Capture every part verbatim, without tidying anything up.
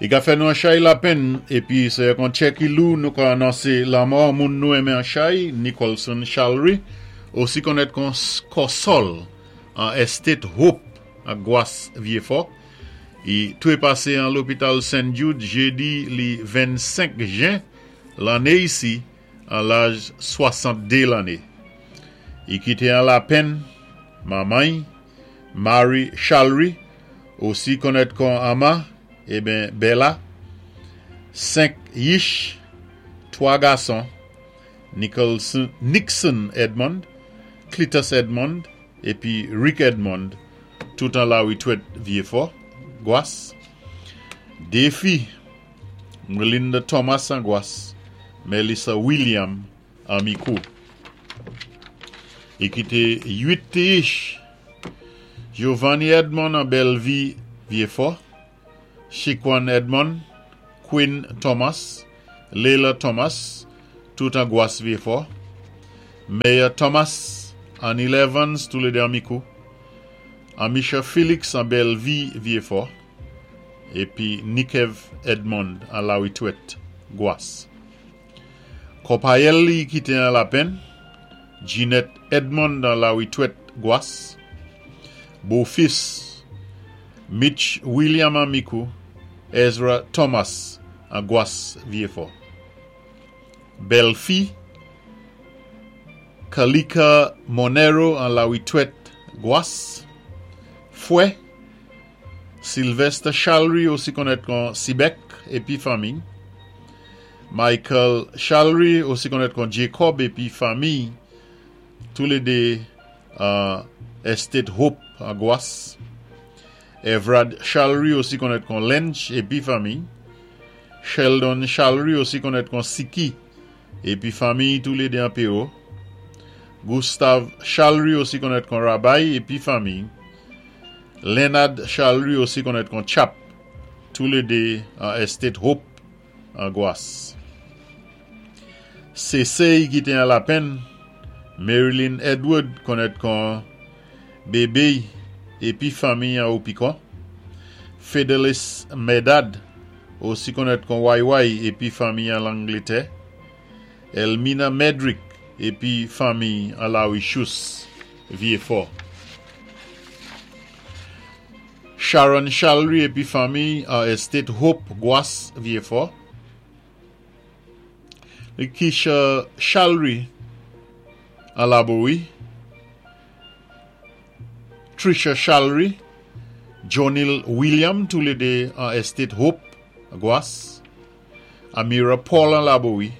I ka fè nou an chay lapenn, épi sé ak an tjè ki lou nou ka anonsé lanmò moun nou enmen an chay, Nicholson Chalry, osi konnèt kon Kòsòl an Estate Hope a Gwas Vyéfò. I touwé pasé an lopital Saint Jude jédi li vennsenk jen lanné isi an laj swasanntdé lanné. I kité an lapenn manman Mary Chalry, osi konnèt kon Ama, ében Bella, senk yich, twa gason, Nicholson, Nixon Edmond, Cletus Edmond, épi Rick Edmond, tout an Lawitwèt Vyéfò, Gwas. Dé fi, Melinda Thomas an Gwas, Melissa William an Mikou. I kité uit ti yich, Giovanni Edmond an Bellevue Vyéfò, Chiquan Edmond, Quinn Thomas, Leila Thomas, tout an Gwas Vyéfò, Mayor Thomas, Annie Evans, tous les deux en Mikou, Amisha Félix an Bellevue Vyéfò, épi Nikev Edmond an Lawitwèt Gwas. Konpayèl li kité an lapenn, Ginette Edmond an Lawitwèt Gwas, Bofis, Mitch William an Mikou, Ezra Thomas an Gwas Vyéfò. Bèlfi, Kalika Monero an Lawitwèt Gwas, Fwè, Sylvester Chalry osi konnèt kon Sibek épi fanmi, Michael Chalry osi konnèt kon Jacob épi fanmi, toulédé uh, Estate Hope an Gwas, Evrad Chalry osi konnèt kon Lench épi fanmi, Sheldon Chalry osi konnèt kon Siki épi fanmi toulédé an Péro, Gustave Chalry osi konnèt kon Rabay épi fanmi, Leonard Chalry osi konnèt kon Chap, toulédé an Estate Hope an Gwas. Sésé kité an lapenn, Marilyn Edward konnèt kon Bébé épi fanmi an Opikon, Fidelis Medad osi konnèt kon Y Y épi fanmi an Langlétè, Elmina Medrick épi fanmi an Lawichous Vyéfò. Sharon Chalry épi fanmi an Estate Hope Gwas Vyéfò. Kisha Chalry an Labowi. Trisha Chalry, Jonil William, toulédé an Estate Hope Gwas. Amira Paul an Labowi.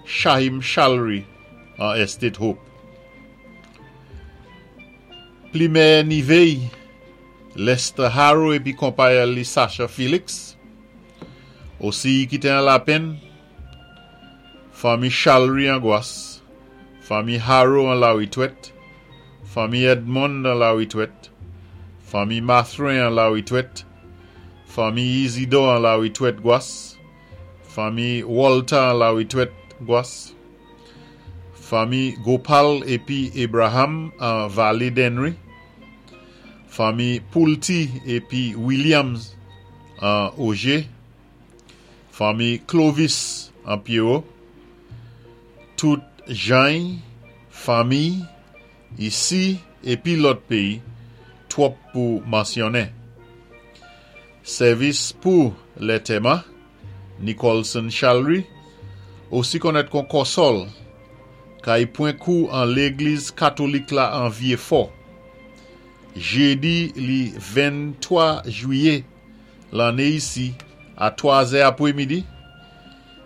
Shahim Chalry an Estate Hope. Plimè Nivey, Lester Harrow épi konpayèl li Sasha Félix. Osi kité an lapenn, fanmi Chalry an Gwas, fanmi Harrow an Lawitwèt, fanmi Edmond an Lawitwèt, fanmi Mathrin an Lawitwèt, fanmi Isidore an Lawitwèt Gwas, fanmi Walter an Lawitwèt Gwas, fanmi Gopal épi Abraham an Vallée d'Henry, fanmi Poulti épi Williams an Auger, fanmi Clovis an Pierrot, tout jan, fanmi, isi épi lòt péyi, twòp pou mansyonnen. Sèvis pou lantèman, Nicholson Chalry, osi konnèt kon Kòsòl, kay pwan kou an légliz katolik la an Vyéfò. Jédi li venntwa jwiyé lanné isi a twa zè apwémidi,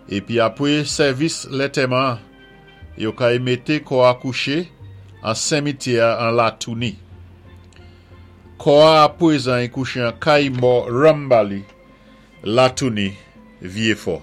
épi apwé sèvis lantèman, yo kay mété kò a kouché an simityè an Latouni. Kò a apwézan i kouché an kay mò Rambali, Latouni, Vyéfò.